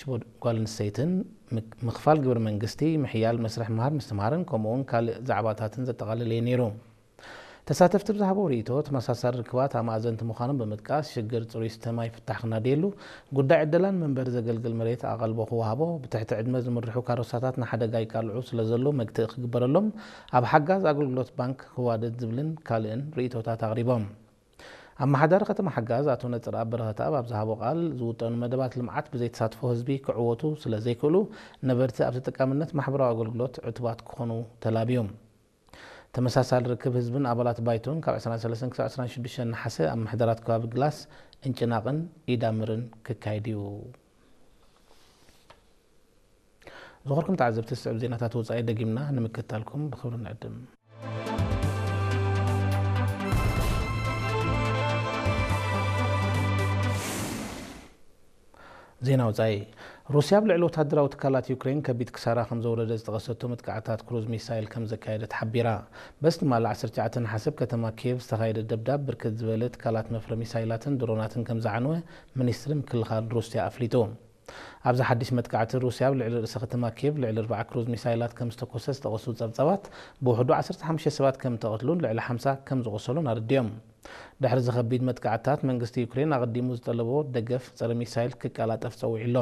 ሽቦ ጓል ኣንስተይትን ምክ-፣ ምኽፋል ግብሪ መንግስቲ፣ ምሕያል መስርሕ ምሃር ምስትምሃርን ከምኡውን ካልእ ዛዕባታትን ዘጠቓለለ እዩ ነይሩ። ተሳተፍቲ ብዝሃቦ ርእይቶ፣ ተመሳሳሊ ርክባት ኣማእዘንቲ ምዃኖም ብምጥቃስ፣ ሽግር ጽሩይ ስተ ማይ ፍታሕ ክናደየሉ፣ ጉዳይ ዕደላን መንበሪ ዘገልግል መሬት ኣቓልቦ ክወሃቦ፣ ብትሕቲ ዕድመ ዝምርሑ ካሮሳታት ንሓደጋ ይቃልዑ ስለ ዘለዉ መግትኢ ክግበረሎም፣ ኣብ ሓጋዝ ኣገልግሎት ባንክ ክዋደድ ዝብልን ካልእን ርእይቶታት ኣቕሪቦም። ኣመሓዳሪ ከተማ ሓጋዝ ኣቶ ነጽርኣብ በረኸተኣብ ኣብ ዝሃቦ ቃል፣ ዝውጠኑ መደባት ልምዓት ብዘይተሳትፎ ህዝቢ ክዕወቱ ስለ ዘይክእሉ፣ ነበርቲ ኣብ ተጠቃምነት ማሕበራዊ ኣገልግሎት ዕቱባት ክኾኑ ተላብዮም። ተመሳሳሊ ርክብ ህዝብን ኣባላት ባይቶን ካብ ዕስራን ሰለስተን ክሳብ ዕስራን ሽዱሽተን ነሓሰ ኣብ ምሕደራት ከባቢ ግላስ፣ እንጭናቕን ኢዳምርን ክካየድ እዩ። ዝኸበርኩም ተዓዘብቲ፣ ዝስዕብ ዜናታት ወጻኢ ደጊምና ንምክትታልኩም ብኽብሪ ንዕድም። ዜና ወጻኢ። ሩስያ ኣብ ልዕሊ ወታደራዊ ትካላት ዩክሬን ከቢድ ክሳራ ከም ዘውረደ ዝጠቐሰቶ መጥቃዕትታት ክሩዝ ሚሳይል ከም ዘካየደት ሓቢራ። በቲ ትማሊ ዓሰርተ ትሽዓተ ነሓሰ ኣብ ከተማ ኪየቭ ዝተኻየደ ደብዳብ ብርክት ዝበለ ትካላት መፍረ ሚሳይላትን ድሮናትን ከም ዝዓነወ ሚኒስትሪ ምክልኻል ሩስያ ኣፍሊጡ። ኣብዚ ሓድሽ መጥቃዕቲ ሩስያ ኣብ ልዕሊ ርእሰ ከተማ ኪየቭ ልዕሊ ኣርባዓ ክሩዝ ሚሳይላት ከም ዝተኮሰ ዝጠቐሱ ጸብጻባት፣ ብውሕዱ ዓሰርተ ሓሙሽተ ሰባት ከም ተቐትሉን ልዕሊ ሓምሳ ከም ዝቖሰሉን ኣረዲኦም። ድሕሪ እዚ ከቢድ መጥቃዕትታት፣ መንግስቲ ዩክሬን ኣቐዲሙ ዝጠለቦ ደገፍ ጸረ ሚሳይል ክቀላጠፍ ጸዊዑ ኣሎ።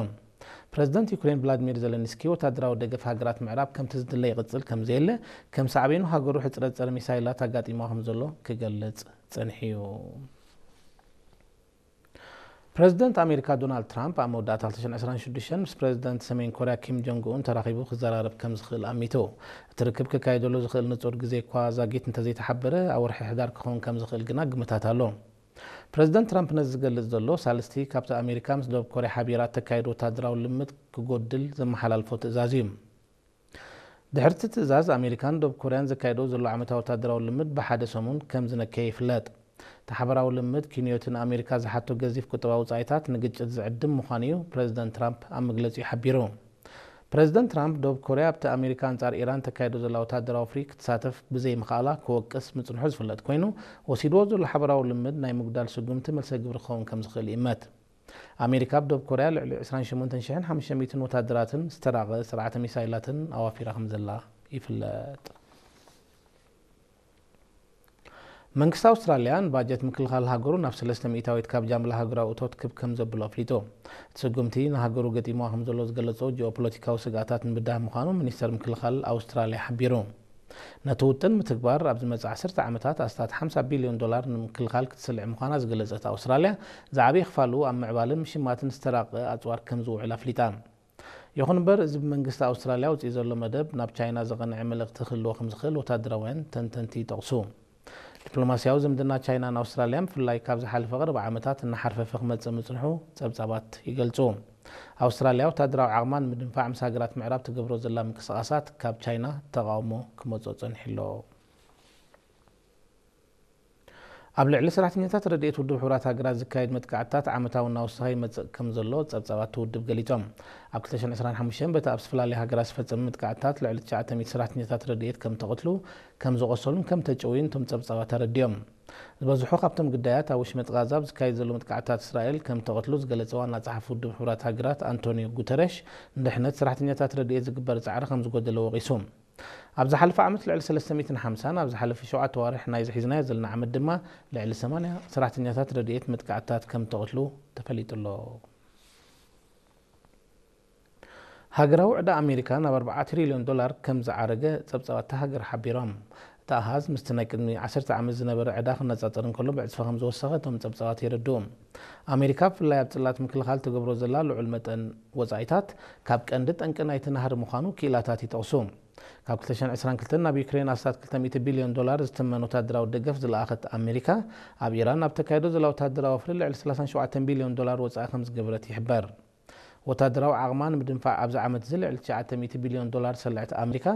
ፕረዚደንት ዩክሬን ቭላድሚር ዘለንስኪ፣ ወታደራዊ ደገፍ ሃገራት ምዕራብ ከምቲ ዝድለ ይቕጽል ከም ዘየለ፣ ከም ሳዕቤኑ ሃገሩ ሕጽረት ጸረ ሚሳይላት ኣጋጢማ ከም ዘሎ ክገልጽ ጸኒሑ እዩ። ፕረዚደንት ኣሜሪካ ዶናልድ ትራምፕ ኣብ መወዳእታ ክልተ ሽሕን ዕስራን ሽዱሽተን ምስ ፕረዚደንት ሰሜን ኮርያ ኪም ጆንግ ኡን ተራኺቡ ክዘራረብ ከም ዝኽእል ኣሚቱ። እቲ ርክብ ክካየደሉ ዝኽእል ንጹር ግዜ እኳ ዛጊት እንተዘይተሓበረ፣ ኣብ ወርሒ ሕዳር ክኸውን ከም ዝኽእል ግና ግምታት ኣሎ። ፕረዚደንት ትራምፕ ነዚ ዝገልጽ ዘሎ፣ ሳልስቲ ካብቲ ኣሜሪካ ምስ ደቡብ ኮርያ ሓቢራ እተካይዶ ወታደራዊ ልምድ ክጎድል ዘመሓላልፎ ትእዛዝ እዩ። ድሕሪ እቲ ትእዛዝ፣ ኣሜሪካን ደቡብ ኮርያን ዘካይዶ ዘሎ ዓመታዊ ወታደራዊ ልምድ ብሓደ ሰሙን ከም ዝነከየ ይፍለጥ። እቲ ሓበራዊ ልምድ፣ ኪንዮቲ ንኣሜሪካ ዝሓቶ ገዚፍ ቁጠባዊ ወጻኢታት ንግጭት ዝዕድም ምዃኑ እዩ ፕረዚደንት ትራምፕ ኣብ መግለጺኡ ሓቢሩ። ፕረዚደንት ትራምፕ፣ ደቡብ ኮርያ ኣብቲ ኣሜሪካ ኣንጻር ኢራን ተካይዶ ዘላ ወታደራዊ ወፍሪ ክትሳተፍ ብዘይምኽኣላ ክወቅስ ምጽንሑ ዝፍለጥ ኮይኑ፣ ወሲድዎ ዘሎ ሓበራዊ ልምድ ናይ ምጉዳል ስጉምቲ መልሰ ግብሪ ክኸውን ከም ዝኽእል ይእመት። ኣሜሪካ ኣብ ደቡብ ኮርያ ልዕሊ ዕስራን ሸሞንተን ሽሕን ሓሙሽተ ሚእትን ወታደራትን ዝተራቐ ስርዓተ ሚሳይላትን ኣዋፊራ ከም ዘላ ይፍለጥ። መንግስቲ ኣውስትራልያ ንባጀት ምክልኻል ሃገሩ ናብ ሰለስተ ሚእታዊት ካብ ጃምላ ሃገራዊ እቶት ክብ ከም ዘብሎ ኣፍሊጡ። እቲ ስጉምቲ ንሃገሩ ገጢምዋ ከም ዘሎ ዝገለጾ ጂኦፖለቲካዊ ስግኣታት ንምብዳህ ምዃኑ ሚኒስተር ምክልኻል ኣውስትራልያ ሓቢሩ። ነቲ ውጥን ምትግባር ኣብ ዝመጽእ ዓሰርተ ዓመታት ኣስታት ሓምሳ ቢልዮን ዶላር ንምክልኻል ክትስልዕ ምዃና ዝገለጸት ኣውስትራልያ፣ ዝዓበየ ክፋሉ ኣብ ምዕባልን ምሽማትን ዝተራቐ ኣጽዋር ከም ዝውዕል ኣፍሊጣ። ይኹን እምበር፣ እዚ ብመንግስቲ ኣውስትራልያ ኣውጺኡ ዘሎ መደብ ናብ ቻይና ዘቐንዐ መልእኽቲ ክህልዎ ከም ዝኽእል ወታደራውያን ተንተንቲ ይጠቕሱ። ዲፕሎማስያዊ ዝምድና ቻይናን ኣውስትራልያን፣ ብፍላይ ካብ ዝሓለፈ ቀረባ ዓመታት እናሓርፈፈ ክመጽእ ምጽንሑ ጸብጻባት ይገልጹ። ኣውስትራልያ ወታደራዊ ዓቕማ ንምድንፋዕ ምስ ሃገራት ምዕራብ ትገብሮ ዘላ ምንቅስቓሳት ካብ ቻይና ተቓውሞ ክመጾ ጸኒሑ ኣሎ። ኣብ ልዕሊ ሰራሕተኛታት ረድኤት ውድብ ሕቡራት ሃገራት ዝካየድ መጥቃዕትታት ዓመታዊ እናወሰኸ ይመጽእ ከም ዘሎ ጸብጻባት እቲ ውድብ ገሊጾም። ኣብ ክልተ ሽሕን ዕስራን ሓሙሽተን በቲ ኣብ ዝተፈላለያ ሃገራት ዝፈጸመ መጥቃዕትታት ልዕሊ ትሽዓተ ሚእቲ ሰራሕተኛታት ረድኤት ከም ተቐትሉ፣ ከም ዝቖሰሉን ከም ተጨውዩን እቶም ጸብጻባት ኣረዲኦም። ዝበዝሑ ካብቶም ግዳያት ኣብ ወሽመጥ ጋዛ ኣብ ዝካየድ ዘሎ መጥቃዕትታት እስራኤል ከም ተቐትሉ ዝገለጸ ዋና ጸሓፊ ውድብ ሕቡራት ሃገራት ኣንቶኒዮ ጉተረሽ፣ ንድሕነት ሰራሕተኛታት ረድኤት ዝግበር ጻዕሪ ከም ዝጎደለ ወቒሱ። ኣብ ዝሓለፈ ዓመት ልዕሊ ሰለስተ ሚእትን ሓምሳን፣ ኣብ ዝሓለፈ ሸውዓተ ኣዋርሕ ናይዚ ሒዝናዮ ዘለና ዓመት ድማ ልዕሊ ሰማንያ ሰራሕተኛታት ረድኤት መጥቃዕትታት ከም ተቐትሉ ተፈሊጡ ኣሎ። ሃገራዊ ዕዳ ኣሜሪካ ናብ ኣርባዓ ትሪልዮን ዶላር ከም ዝዓረገ ጸብጻባት እታ ሃገር ሓቢሮም። እቲ ኣሃዝ ምስቲ ናይ ቅድሚ ዓሰርተ ዓመት ዝነበረ ዕዳ ክነጻጸር እንከሎ ብዕጽፊ ከም ዝወሰኸ እቶም ጸብጻባት የረድኡ። ኣሜሪካ ብፍላይ ኣብ ጽላት ምክልኻል ትገብሮ ዘላ ልዑል መጠን ወጻኢታት ካብ ቀንዲ ጠንቂ ናይቲ ናህሪ ምዃኑ ክኢላታት ይጠቕሱ። ካብ ክልተ ሽሕን ዕስራን ክልተን ናብ ዩክሬን ኣስታት ክልተ ሚእቲ ቢልዮን ዶላር ዝትመን ወታደራዊ ደገፍ ዝለኣኸት ኣሜሪካ፣ ኣብ ኢራን ኣብ ተካይዶ ዘላ ወታደራዊ ወፍሪ ልዕሊ ሰላሳን ሸውዓተን ቢልዮን ዶላር ወጻኢ ከም ዝገበረት ይሕበር። ወታደራዊ ዓቕማ ንምድንፋዕ ኣብዚ ዓመት እዚ ልዕሊ ትሽዓተ ሚእቲ ቢልዮን ዶላር ዝሰልዐት ኣሜሪካ፣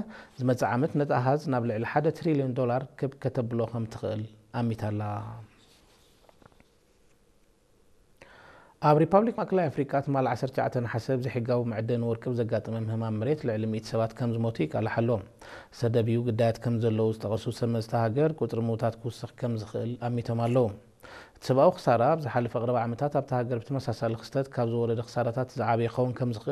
ዝመጽእ ዓመት ነቲ ኣሃዝ ናብ ልዕሊ ሓደ ትሪልዮን ዶላር ክብ ከተብሎ ከም ትኽእል ኣሚታ'ላ። ኣብ ሪፓብሊክ ማእከላይ ኣፍሪቃ ትማሊ ዓሰርተ ትሽዓተ ነሓሰ ብዘይሕጋዊ መዕደኒ ወርቂ ብዘጋጠመ ምህማም መሬት ልዕሊ ሚእቲ ሰባት ከም ዝሞቱ ይቃላሕ ኣሎ። ዝተደብዩ ግዳያት ከም ዘለዉ ዝጠቐሱ ሰብ መዚ እታ ሃገር፣ ቁጽሪ ምዉታት ክውስኽ ከም ዝኽእል ኣሚቶም ኣለዉ። እቲ ሰብኣዊ ክሳራ ኣብ ዝሓለፈ ቀረባ ዓመታት ኣብታ ሃገር ብተመሳሳሊ ክስተት ካብ ዝወረደ ክሳራታት ዝዓበየ ክኸውን ከም ዝኽእል